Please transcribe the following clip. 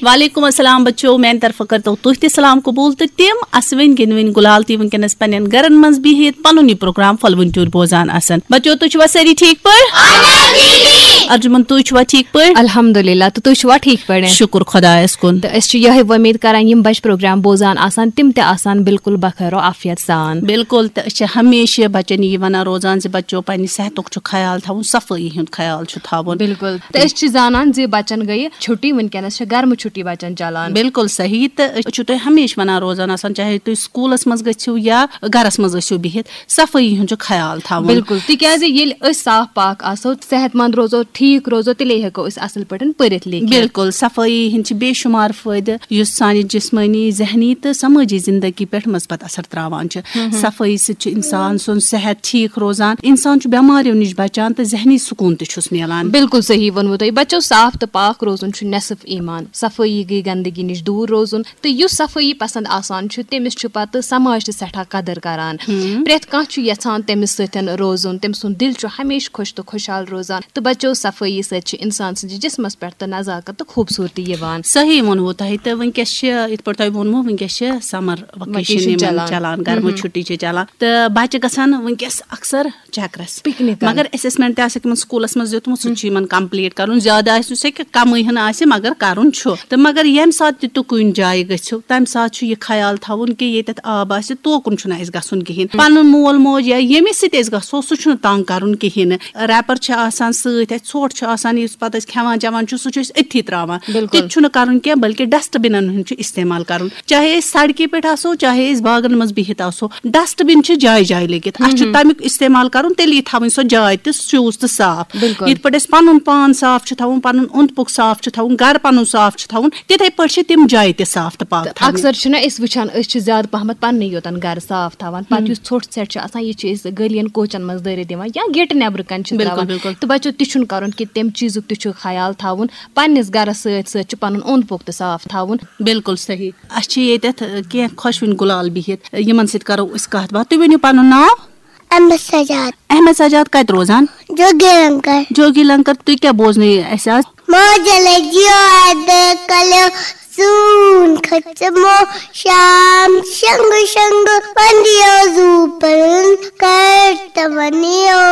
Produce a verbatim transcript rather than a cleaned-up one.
وعلیکم السلام بچو، میانہِ طرفہٕ کٔرتو تُہۍ تہِ سلام قبول تہٕ تِم اسوٕنۍ گِنٛدوٕنۍ گُلال تہِ وٕنکیٚنس پننٮ۪ن گرن منٛز بِہِتھ پنُن یہِ پروگرام پھۄلوٕنۍ ٹیوٗرۍ بوزان آسن۔ بچو، تُہۍ چھِوا سٲری ٹھیٖک پٲٹھۍ؟ ارجُمن، تُہۍ چھِوا ٹھیٖک پٲٹھۍ؟ الحمدللہ، تہٕ تُہۍ چھِوا ٹھیٖک پٲٹھۍ؟ شُکُر خۄدایس کُن۔ تہٕ أسۍ چھِ یِہے وۄمید کران، یِم بچہِ پروگرام بوزان آسن، تِم تہِ آسن بالکل بخیر و عافیت سان۔ بالکل، تہٕ أسۍ چھِ ہمیشہِ بچن یی ونان روزان زِ بچو، پننہِ صحتُک چھُ خیال تھاوُن، صفٲیی ہُنٛد خیال چھُ تھاوُن۔ بالکل، تہٕ أسۍ چھِ زانان زِ بچن گٔیہِ چھُٹی، وٕنکیٚنس چھِ گرمہٕ چھُٹی بچن چلان۔ بالکل صحیح، تہٕ أسۍ چھِو تۄہہِ ہمیشہِ ونان روزان آسان، چاہے تُہۍ سکوٗلس منٛز گٔژھِو یا گرس منٛز ٲسِو بِہِتھ، صفٲیی ہُنٛد چھُ خیال تھاوُن۔ بالکل، تِکیازِ ییٚلہِ أسۍ صاف پاک آسو، صحت مند روزو، ٹھیٖک روزو، تیٚلے ہٮ۪کو أسۍ اصل پٲٹھۍ پٔرِتھ لیکھِتھ۔ بالکل، صفٲیی ہٕنٛدۍ چھِ بے شُمار فٲیدٕ، یُس سانہِ جسمٲنی، ذہنی تہٕ سمٲجی زندگی پٮ۪ٹھ مثبت اثر تراوان چھِ۔ صفٲیی سۭتۍ چھُ انسان سُنٛد صحت ٹھیٖک روزان، انسان چھُ بٮ۪ماریو نِش بچان تہٕ ذہنی سکوٗن تہِ چھُس میلان۔ بالکل صحیح ووٚنوٕ تۄہہِ۔ بچو، صاف تہٕ پاک روزُن چھُ نصف ایمان۔ صفٲیی گٔے گندگی نِش دوٗر روزُن، تہٕ یُس صفٲیی پسند آسان چھُ، تٔمِس چھُ پتہٕ سماج تہِ سٮ۪ٹھاہ قدر کران۔ پرٛٮ۪تھ کانٛہہ چھُ یژھان تٔمِس سۭتۍ روزُن، تٔمۍ سُنٛد دِل چھُ ہمیشہِ خۄش تہٕ خۄشحال روزان۔ تہٕ بچو، صفٲیی سۭتۍ چھِ انسان سٕنٛدِس جسمس پٮ۪ٹھ تہٕ نزاکت تہٕ خوٗبصوٗرتی یِوان۔ صحیح ووٚنوٕ تۄہہِ۔ تہٕ وٕنکیٚس چھِ، یِتھ پٲٹھۍ تۄہہِ ووٚنوٕ، وٕنکیٚس چھِ سمر وکیشن وکیشن یِمن چلان۔ چلان، گرمہٕ چھُٹی چھِ چلان، تہٕ بچہِ گژھن وٕنکیٚس اکثر چکرس۔ پکنک۔ مگر اسسمنٹ تہِ آسہِ تِمن سکوٗلس منٛز دیُتمُت، سُہ تہِ چھُ یِمن کمپلیٖٹ کرُن۔ زیادٕ آسہِ نہٕ سُہ کینٛہہ، کمٕے ہن آسہِ، مگر کرُن چھُ۔ تہٕ مگر ییٚمہِ ساتہٕ تہِ تُہۍ کُنہِ جایہِ گٔژھِو، تمہِ ساتہٕ چھُ یہِ خیال تھاوُن کہِ ییٚتٮ۪تھ آب آسہِ، توکُن چھُنہٕ اَسہِ گژھُن کِہیٖنۍ۔ پنُن مول موج یا ییٚمِس سۭتۍ أسۍ گژھو، سُہ چھُنہٕ تنگ کرُن کِہیٖنۍ نہٕ۔ ریپر چھِ آسان سۭتۍ، اَسہِ ژھۄٹھ چھُ آسان، یُس پتہٕ أسۍ کھٮ۪وان چٮ۪وان چھُ، سُہ چھُ أسۍ أتھی تراوان۔ بالکل۔ تہِ چھُنہٕ کرُن کینٛہہ، بلکہِ ڈسٹ بِنن ہُنٛد چھُ استعمال کرُن۔ چاہے أسۍ سڑکہِ پٮ۪ٹھ آسو، چاہے أسۍ باغن منٛز بِہِتھ آسو، ڈسٹ بِن چھِ جایہِ جایہِ لٔگِتھ۔ اَسہِ چھُ تمیُک استعمال کرُن، تیٚلہِ یی تھاوٕنۍ سۄ جاے تہِ سیوٗز تہٕ صاف۔ بالکل۔ یِتھ پٲٹھۍ أسۍ پنُن پان صاف چھُ تھاوُن، پنُن اوٚنٛد پوٚک صاف چھُ تھاوُن، گرٕ پنُن صاف چھُ تھاوُن، تِتھے پٲٹھۍ چھِ تِم جایہِ تہِ صاف تہٕ پاک تہٕ تھاونہِ۔ اکثر چھِنہ أسۍ وٕچھان، أسۍ چھِ زیادٕ پہمتھ پننُے یوتن گرٕ صاف تھاوان، پتہٕ یُس ژھۄٹھ ژھٮ۪ٹھ چھُ آسان، یہِ چھِ أسۍ گٔلین کوچن منٛز دٲرِتھ دِوان یا گیٹہِ نٮ۪برٕ کنہِ چھِ بالکل، تراوان۔ بالکل۔ تہٕ بچو، تہِ چھُنہٕ کرُن کہِ تمہِ چیٖزُک تہِ چھُ خیال تھاوُن، پننِس گرس سۭتۍ سۭتۍ چھُ پنُن اوٚنٛد پوٚک تہِ صاف تھاوُن۔ بالکل صحیح۔ اَسہِ چھِ ییٚتٮ۪تھ، ٲ، کینٛہہ خۄشوٕنۍ گُلال بِہِتھ، یِمن سۭتۍ کرو أسۍ کتھ باتھ۔ تُہۍ ؤنِو پنُن ناو؟ احمد سجاد۔ احمد سجاد کتہِ روزان؟ جوگی لنکر۔ جوگی لنکر، تُہۍ کیٛاہ بوزنٲیِو اَسہِ آز؟ موجل جیو کلیو سون کھچمو شام شنگ شنگ پندیو زو پرن کرتونیو۔